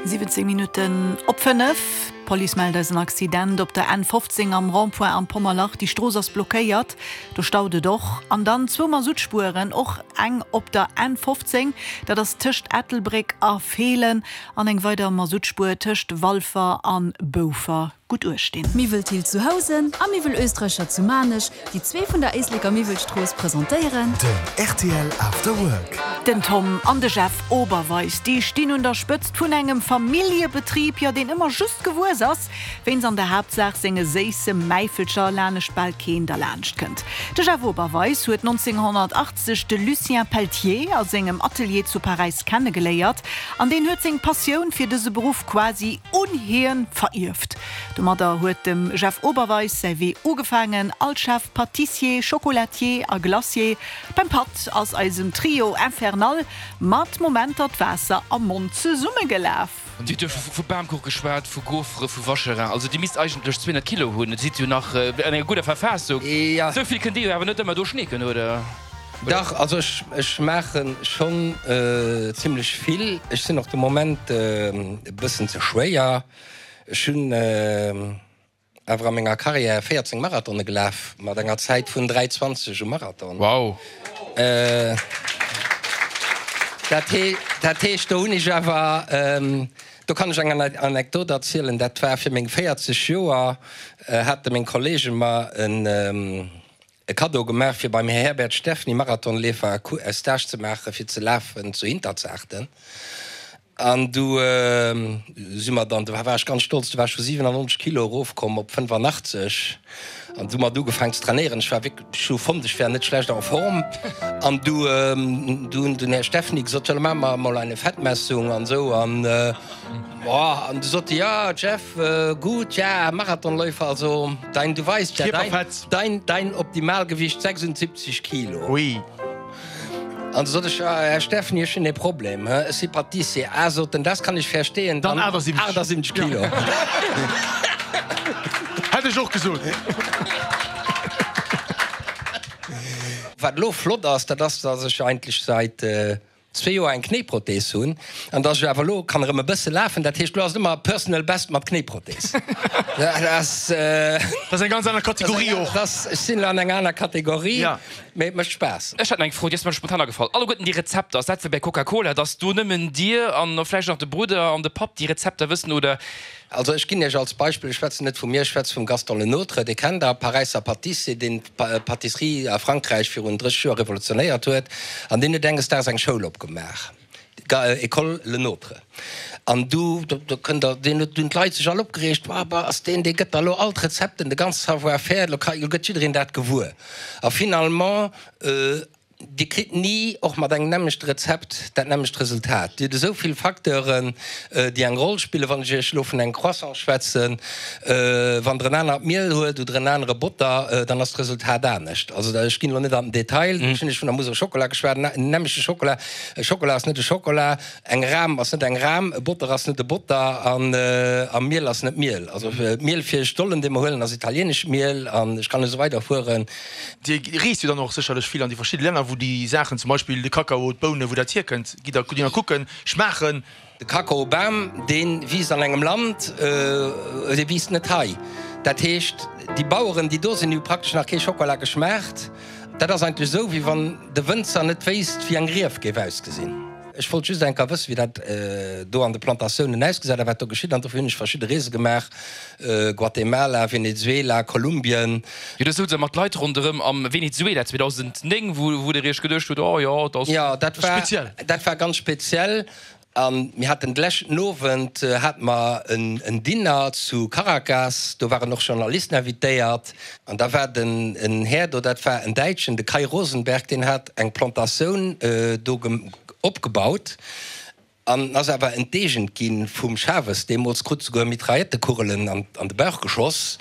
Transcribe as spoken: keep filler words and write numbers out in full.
Siwwenzéng Minutten op fënnef. D'Police mellt eis en Accident op der N fofzéng am Rond-point am Pommerlach. Déi Strooss ass blockéiert, do staut et och. An dann zwou Masuttspueren, och eng op der N fofzéng, dat ass tëscht Ettelbréck a Feelen, an eng weider Masuttspuer tëscht Walfer an Boufer. Gutt uecht dinn. Miwwel Thill zu Housen a Miwwel Oestreicher zu Maarnech, déi zwee vun der Éisleker Miwwelstrooss presentéieren. Den R T L After Work. Den Tom an de Jeff Oberweis, déi stinn un der Spëtzt vun engem Familljebetrib, jo deen ëmmer just gewuess ass, wéinst an der Haaptsaach senge séisse Mäifelcher lanescht bal keen derlaanscht kënnt. De Jeff Oberweis huet nonzénghonnertachtzeg de Lucien Pelletier a sengem Atelier zu Paräis kennegeléiert an deen huet seng Passioun fir dëse Beruff quasi un hien verierft. Domadder huet dem Jeff Oberweis säi Wee ugefaangen als Chef Pâtissier, Chocolatier a Glacier. Beim Patt ass eisem Trio infernal mat Momenter d'Waasser am Mond zesummegelaf. Dir hutt jo vu Bamkuch geschwat, vu Gaufere, vu Vacherin, also Dir misst eigentlech zweehonnert Kilo hunn, et sidd jo nach an enger gudder Verfassung. Ja. Esou vill kënnt Dir jo awer net ëmmer do schneeken, oder? Dach, also ech, ech maache schonn zimlech vill. Ech sinn och de Moment e bëssen ze schwéier. Ech hunn awer a menger Karriär véierzéng Marathone gelaf, mat enger Zäit vun dräi zwanzeg um Marathon. Wow! Dat dat heescht, do hunn ech awer, do kann ech eng Anekdot erzielen, dat war fir meng véierzeg Joer, hate meng Kollege mer en e Kaddo gemaach, fir beim Här Herbert Steffny, Marathonleefer, e Stage ze maachen, fir ze lafen zu Hinterzarten. An du si mer dann, do war ech ganz stolz, du war ech vu siwenannonzeg Kilo erofkomm op fënnefanachtzeeg an du mat ugefaangen ze trainéieren. Ech war wierklech, ech hu fonnt, ech wär net schlecht en Form. An du, du hunn den Här Steffny gesot, jo, da maache mer emol eine Fettmessung an esou. An, boah, an du sot e, ja, Jeff, gut, ja, Marathonläufer, also dein, du weißt ja, dein, Kierperfett. dein, dein Optimalgewicht sechsundsiebzig Kilo. Ui. An du sot ech, ja, Här Steffny, ech hunn e Problem, hä? Ech si Pâtissier. Ah, sot en, das kann ich verstehen. Dann achtundsiebzeg. achtundsiebzeg Kilo. Hätt ech och gesot. Wat elo flott ass, dat ass, dass ech eigentlech säit zwee Joer eng Knéiprothees hunn an dass ech awer elo kann erëm e bësse lafen. Dat heescht, elo ass et ëmmer Personal Best mat Knéiprothees. Dat ass. Dat ass eng ganz aner Kategorie och. Dat ass, ech sinn elo an enger aner Kategorie, Ja. mee et mécht Spaass. Ech hätt nach eng Fro, déi ass mer spontan agefall. Alleguerten déi Rezepter, ass dat wéi bei Coca-Cola, dass do nëmmen Dir an vläicht nach de Brudder an de Papp déi Rezepter wëssen, oder? Also ech ginn Iech als Beispill, ech schwätzen net vu mir, ech schwätze vum Gaston Lenôtre, dee kennt Der, Paräisser Pâtissier, deen d'Pâtisserie a Frankräich virun drësseg Joer revolutionéiert huet an deen huet enges Daags eng Schoul opgemaach, École Lenôtre. An du, do kënnt Der, deen huet, dunn d'Leit sech all opgereegt, Wa, bah, ass deen, dee gëtt der elo all d'Rezepten, de ganze Savoir-faire, elo ka, elo gëtt jiddereen dat gewuer. A finalement Dir kritt ni, och mat engem nämmlechte Rezept, dat nämmlecht Resultat. Dir hutt esou vill Facteuren, déi eng Roll spillen. Wann ech Iech elo vun engem Croissant schwätzen, wann Der en anert Miel huelt oder en anere Botter, dann ass d'Resultat anescht. Also ech ginn elo net an den Detail. Ech hunn Iech vun der Mousse au Chocolat geschwat, en nämmlechte Chocolat, e Chocolat ass net e Chocolat, eng Ram ass net eng Ram, e Botter ass net e Botter an a Miel ass net Miel. Also d'Miel fir Stollen, dee mer huelen, ass italienescht Miel an ech kann esou weiderfueren. Dir reest jo dann och sécherlech vill an déi verschidde Länner, wou déi Saachen, zum Beispill de Kakao, d'Bounen, wou dat hierkënnt, gitt Der gitt Der kucken, schmaachen? De Kakaobam, dee wiisst an engem Land, dee wiisst net hei. Dat heescht, déi Baueren, déi do sinn, déi hu praktesch nach kee Schockela geschmaacht. Dat ass eigentlech esou, wéi wann de Wënzer net wéisst, wéi eng Rief géif ausgesinn. Ech wollt just eng Kéier wëssen, wéi dat do an de Plantatiounen ausgesäit a wat do geschitt. An dofir hunn ech verschidde Reese gemaach, Guatemala, Venezuela, Kolumbien. Jo, do souz Der mat Leit ronderëm am Venezuela zweedausendnéng, wou Der Iech geduecht hutt, Oh jo, dat ass. Jo, dat war, Speziell. dat war ganz speziell. A mir haten de leschten Owend hate mer en Dinner zu Caracas, do waren och Journalisten invitéiert. An da war den en Här do, dat war en Däitschen, de Kai Rosenberg, deen hat eng Plantatioun do opgebaut an ass awer enteegent gi vum Chavez deemools, krut souguer Mitraillettekugelen an de Bauch geschoss.